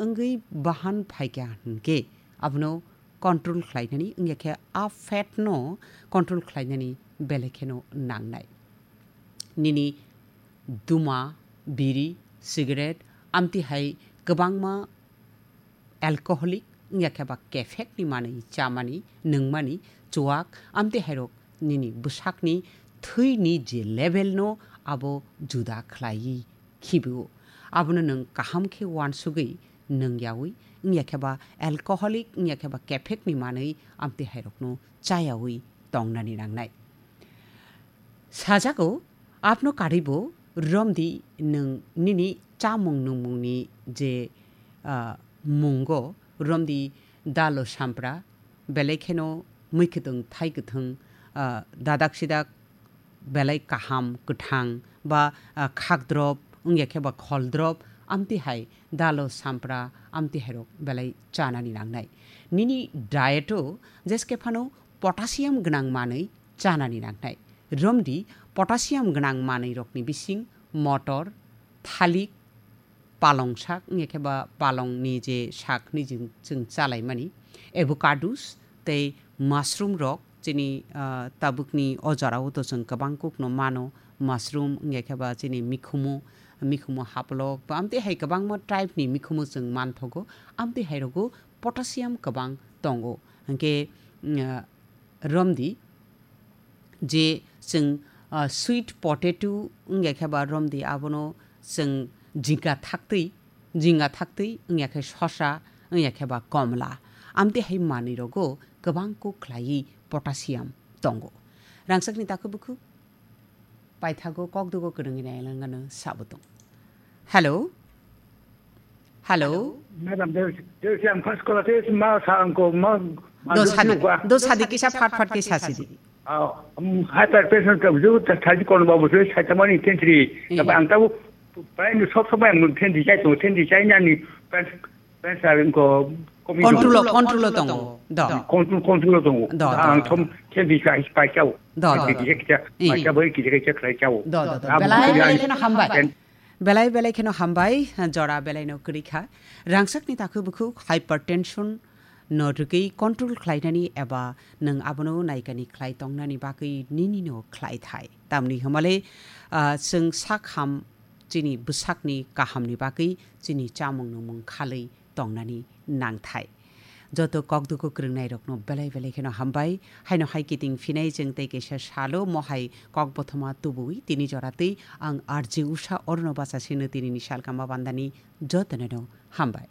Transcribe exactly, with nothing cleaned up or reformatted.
wngwi bahan phaikha hinkhe abono control khlainani wngya khe a fat no control khlainani belai kheno nangnai. Nini duma, biri, cigarette, amtwi hai kwbangma alcoholic wngya khe ba kephek ni manwi chamani, nungmani, chuwak, amtwi hairok nini bwsakni thwini je level no abo juda khlaiwi khibiwo. Abono nwng kaham khe uansugwi nungyawi, wngya khe ba alcoholic, wngya khe ba kephek ni manwi amtwi hairokno chayawi tongnani nangnai. Sajago, apno karibo romdi nwng nini chamung nungmungni je, ah, mungo romdi dalo sampra, belai kheno mui kwthwng thai kwthwng, ah, dadak sidak belai kaham kwthang ba, ah, khakdrop wngya khe ba kholdrop amtwi hai dalo sampra amtwi hairok belai chanani nangnai. Nini diet-o jeske phano potassium gwnang manwi chanani nangnai. Romdi potassium gwnang manwirokni bising motor, thalik, palong sak, wngya khe ba palongni je sak hinwi jing-, chwng chalaimani, avocados tei mushroom rok chini, ah, tabukni o jorao to chwng kwbang kukno mano, mushroom wngya khe ba chini mikhumu, mikhumu haplok, ba amtwi hai kwbangma tribe ni mikhumu chwng manthogo, amtwi hai rogo potassium kwbang tongo. Hinkhe, mm, ah, romdi je chwng, ah, sweet potato wngya khe ba romdi abono chwng jingka thaktwi, jingka thaktwi wngya khe sosa, wngya khe ba komla. Amtwi hai manwi rogo kwbang kuk khlaiwi potassium tongo. Rangchakni takhuk bukhuk paithago kokdugo kwrwngwi nailangano sabo tong. Hello? Hello? Madam, there is, there is, I'm first caller. There is ma sa angko ma ma Do du sadi, sukwa. Do sadi kisa phat phat kisa sidi. Ah, um, hypertension ka bujo ta thaji kono babu se saita mani tentri. Eh. Tapi ang tahu, paling sob sob yang tentri chai tu, tentri chai nyani pen pen sa angko komi Control, do. Control tongo. Do. Control, control tongo. Do, do, Ang do. Thom tentri chai pai chau. Do, do, Tentri do. Kisa kisa Eh. Pai chau, bai kisa kisa khlai chau. Do, do, do. Ang Belai, bujo belai yang kheno hambai. Ten- Belai belai kheno hambai, jora belai no kwrwi kha. Rangchakni takhuk bukhuk hypertension no rwgwi control khlainani eba nwng abono naikani khlai tongnani bagwi nini no khlai thai. Tamni hwnmale, ah, chwng sak ham chini bwsakni kahamni bagwi chini chamung nungmung khalwi tongnani nangthai. Joto kokdugo kwrwngnairokno belai belai kheno hambai. Haino hai kiting phinai chwng tei kaisa salo mohai kokbothoma tubui tini joratwi ang R J Usha orno bachasino tinini salkama bandani jotono no hambai.